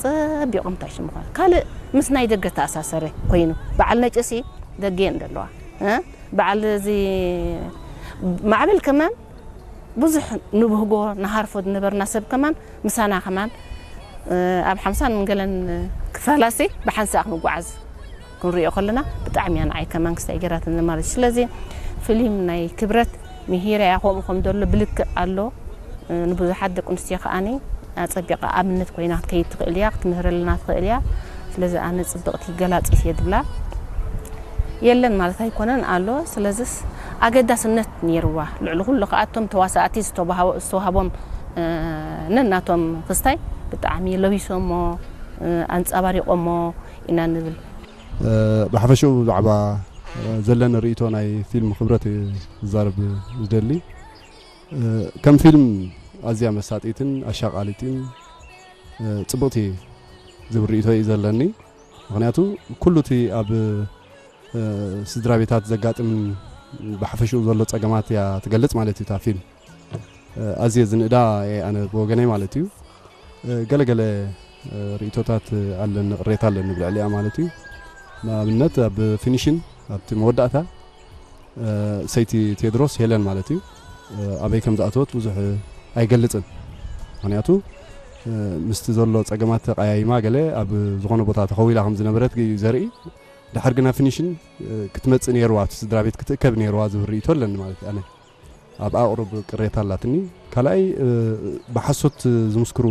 ጸቢቖም እንታይ ሽሙ ኾነ ካልእ ምስ ናይ ደገ ተኣሳሰረ ኮይኑ በዓል ነጭሲ ደገ እየን ዘለዋ። እ? በዓል እዚ ማዕበል ከማን ብዙሕ ንብህጎ ንሃርፎ ዝነበርና ሰብ ከማን ምሳና ከማን ኣብ ሓምሳን ገለን ክፋላሲ ብሓንሳእ ክንጓዓዝ ክንሪኦ ከለና ብጣዕሚ እያ ንዓይ ከማን ክስታይ ገይራትኒ ማለት እዩ። ስለዚ ፍሊም ናይ ክብረት ምሂራ እያ ከምኡ ከም ዘሎ ብልክዕ ኣሎ። ንብዙሓት ደቂ ኣንስትዮ ከዓኒ ኣጸቢቓ ኣብነት ኮይና ክትከይድ ትኽእል እያ ክትምህረልና ትኽእል እያ። ስለዚ ኣነ ጽብቕቲ ገላጺት እየ ዝብላ የለን ማለት ኣይኮነን ኣሎ። ስለዚስ ኣገዳስነት ነይርዋ። ልዕሊ ኩሉ ከኣቶም ተዋሳእቲ ዝተዋሃቦ- ዝተዋሃቦም ነናቶም ክስታይ ብጣዕሚ ለቢሶሞ ኣንጸባሪቖሞ ኢና ንብል። ብሓፈሽኡ ብዛዕባ ዘለኒ ርእይቶ ናይ ፊልም ክብረት እየ ዝዛረብ ዝደሊ። ከም ፊልም ኣዝያ መሳጢትን ኣሻቓሊትን ጽብቕቲ ዝብል ርእይቶ እዩ ዘለኒ። ምኽንያቱ ኩሉ እቲ ኣብ ስድራ ቤታት ዘጋጥም ብሓፈሽኡ ዘሎ ጸገማት እያ ትገልጽ ማለት እዩ እታ ፊልም። ኣዝየ ዝንእዳ እየ ኣነ ብወገነይ ማለት እዩ። ገለገለ ርእይቶታት ኣለኒ፣ ቅሬታ ኣለኒ ብልዕሊኣ ማለት እዩ። ንኣብነት ኣብ ፊኒሽን ኣብቲ መወዳእታ ሰይቲ ቴድሮስ ሄለን ማለት እዩ ኣበይ ከም ዝኣተወት ብዙሕ ኣይገልጽን። ምኽንያቱ ምስቲ ዘሎ ጸገማት ተቀያይማ ገለ ኣብ ዝኾነ ቦታ ተኸዊላ ከም ዝነበረት እዩ ዘርኢ። ድሓር ግና ፊኒሽን ክትመጽእ ነይርዋ፣ ኣብቲ ስድራ ቤት ክትእከብ ነይርዋ ዝብል ርእይቶ ኣለኒ ማለት እዩ። ኣነ ኣብ ኣቕሩብ ቅሬታ ኣላትኒ። ካልኣይ ብሓሶት ዝምስክሩ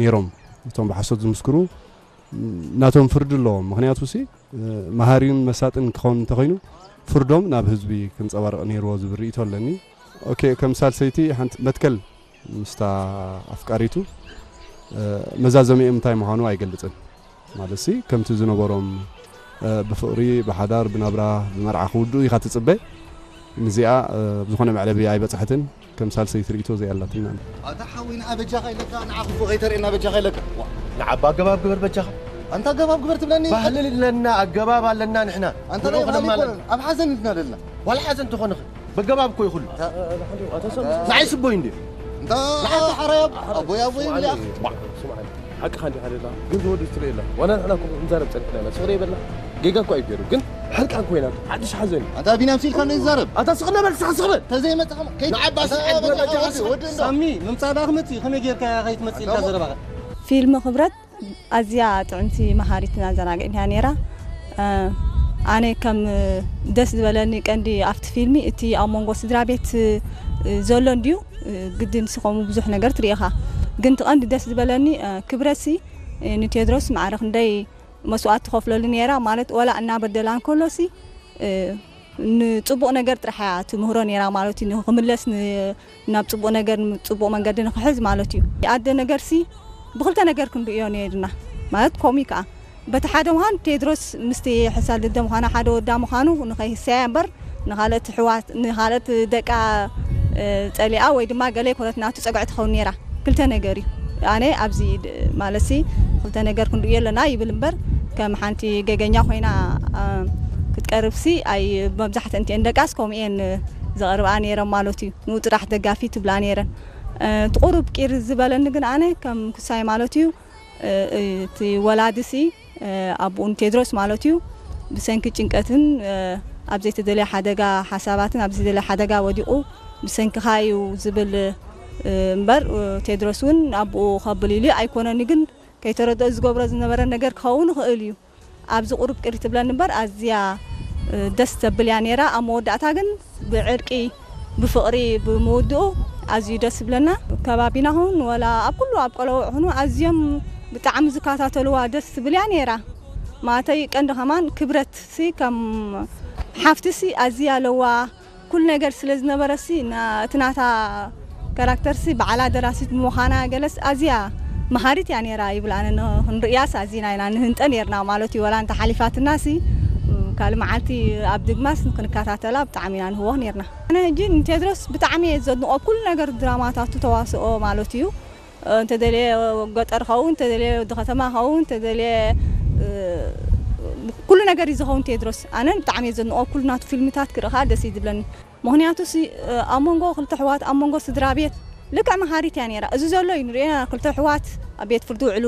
ነይሮም። እቶም ብሓሶት ዝምስክሩ ናቶም ፍርዲ ኣለዎም። ምኽንያቱ ሲ መሃሪን መሳጥን ክኸውን እንተኾይኑ ፍርዶም ናብ ህዝቢ ክንጸባርቕ ነይርዎ ዝብል ርእይቶ ኣለኒ። ኦኬ፣ ከም ሳልሰይቲ ሓንቲ መትከል ምስታ ኣፍቃሪቱ መዛዘሚኦም እንታይ ምዃኑ ኣይገልጽን። ማለት ሲ ከምቲ ዝነበሮም ብፍቕሪ፣ ብሓዳር፣ ብናብራ፣ ብመርዓ ክውድኡ ኢኻ ትጽበ። ንዚኣ ብዝኾነ መዕለቢ ኣይበጽሐትን። ከም ሳልሰይቲ ርእይቶ እዚኣ ኣላትና። ኣታ ሓወይ ንዓ በጃኻ ኢለካ ንዓ ክፉእ ከይተርእየና በጃኻ ኢለካ። ዋ፣ ንዓ ኣገባብ ግበር በጃኻ። ኣንታ ኣገባብ ግበር ትብለኒ? ባህሊ ኣለና ኣገባብ ኣለና ንሕና። ኣንታ ናይ ባህሊ ኣይኮነን ኣብ ሓዘን ኢልና ዘለና። ዋላ ሓዘን ትኾንኺ በገባብ እኮ ይኹሉ። ንዓይ ስቦይ እንዲ። እንታ ሓራይ ኣቦይ ኣቦይ ኢልያ። ሓቅኻ እንዲኻ ደላ ግን ዝወዱ ትርኢ ኣላ ዋላ ንሕና እኮ ክንዛረብ ጸኒሕና ኢና ስቕረ ይበላ። ጌጋ እኮ እዩ ገይሩ ግን ሕርቃን ኮይና ሓድሽ ሓዘን እዩ። ኣንታ ቢንያም ሲልካ ነው ይዛረብ። ኣታ ስቕለ በል ስቕ ስቕለ። ተዘይመጽኻ ከይት- ንዓባ ኣንታ ስቕ ኣንታ ወዲ- ወዲ እንዶ። ሳሚ ምምጻእ ደኣ ክመጽእ እዩ ከመይ ጌርካ ከይትመጽእ ኢልካ ኣታ ዘረባኻ። ፊልም ክብረት ኣዝያ ጥዕምቲ መሃሪትን ኣዘናጊዕትን እያ ነይራ። ኣነ ከም ደስ ዝበለኒ ቀንዲ ኣብቲ ፊልሚ እቲ ኣብ መንጎ ስድራ ቤት ዘሎ እንድዩ ግድን ስኸሙ ብዙሕ ነገር ትሪኢኻ ግን እቲ ቀንዲ ደስ ዝበለኒ ክብረሲ ንቴድሮስ ማዕረ ክንደይ መስዋእቲ ትኸፍለሉ ነይራ ማለት ወላ እናበደላ እንከሎሲ ንፅቡቕ ነገር ጥራሕ እያ ትምህሮ ነይራ ማለት እዩ። ንክምለስ ናብ ፅቡቕ ነገር ፅቡቕ መንገዲ ንክሕዝ ማለት እዩ። ኣደ ነገርሲ ብክልተ ነገር ክንርእዮ ነይርና ማለት ኮሚ ከዓ በቲ ሓደ ምዃን ቴድሮስ ምስቲ ሕሳል ድደ ምዃና ሓደ ወዳ ምዃኑ ንኸይህሰያ እምበር ንኻልኦት ሕዋት ንኻልኦት ደቃ ፀሊኣ ወይ ድማ ገለ ይኮነት ናቱ ፀግዒ ትኸውን ነይራ። ክልተ ነገር እዩ ኣነ ኣብዚ ማለትሲ ክልተ ነገር ክንርእዮ ኣለና ይብል እምበር ከም ሓንቲ ገገኛ ኮይና ክትቀርብሲ ኣይ መብዛሕትአን እቲአን ደቃስ ከምኡ እየን ዘቕርብኣ ነይረን ማለት እዩ። ንኡ ጥራሕ ደጋፊ ትብላ ነይረን። እቲ ቁሩብ ቂር ዝበለኒ ግን ኣነ ከም ክሳይ ማለት እዩ እቲ ወላዲሲ ኣቦኡ ንቴድሮስ ማለት እዩ ብሰንኪ ጭንቀትን ኣብ ዘይተደለየ ሓደጋ ሓሳባትን ኣብ ዘይተደለየ ሓደጋ ወዲቑ ብሰንክኻ እዩ ዝብል እምበር ቴድሮስ እውን ኣቦኡ ከብል ኢሉ ኣይኮነን እዩ ግን ከይተረድኦ ዝገብሮ ዝነበረ ነገር ክኸውን ይኽእል እዩ። ኣብዚ ቁሩብ ቅር ትብለኒ እምበር ኣዝያ ደስ ተብል እያ ነይራ። ኣብ መወዳእታ ግን ብዕርቂ ብፍቕሪ ብምውድኡ ኣዝዩ ደስ ዝብለና። ከባቢና ኹን ወላ ኣብ ኩሉ ኣብ ቆለውዕ ኹኑ ኣዝዮም ብጣዕሚ ዝከታተልዋ ደስ ትብል እያ ነይራ። ማለተይ ቀንዲ ከማን ክብረት ሲ ከም ሓፍቲ ሲ ኣዝያ ኣለዋ። ኩሉ ነገር ስለ ዝነበረ ሲ እቲ ናታ ካራክተር ሲ በዓላ ደራሲት ብምዃና ገለስ ኣዝያ መሃሪት እያ ነይራ ይብል ኣነ ንክንርእያስ ኣዚና ኢና ንህንጠ ነይርና ማለት እዩ ወላ እንተ ሓሊፋትና ሲ ካልእ መዓልቲ ኣብ ድግማስ ክንከታተላ ብጣዕሚ ኢና ንህወኽ ነይርና ኣነ ሕጂ ንቴድሮስ ብጣዕሚ እየ ዘድንቆ ኩሉ ነገር ድራማታቱ ተዋስኦ ማለት እዩ እንተደልየ ገጠር ኸውን እንተደልየ ወዲ ከተማ ኸውን እንተደልየ ኩሉ ነገር እዩ ዝኸውን ቴድሮስ ኣነ ብጣዕሚ እየ ዘድንቆ ኩሉ ናቱ ፊልምታት ክርእኻ ደስ እዩ ዝብለኒ ምኽንያቱ ሲ ኣብ መንጎ ክልተ ኣሕዋት ኣብ መንጎ ስድራ ቤት ልክዕ መሃሪት እያ ነይራ። እዚ ዘሎ እዩ ንሪኦ ኢና ክልተ ኣሕዋት ኣብ ቤት ፍርዲ ውዕሉ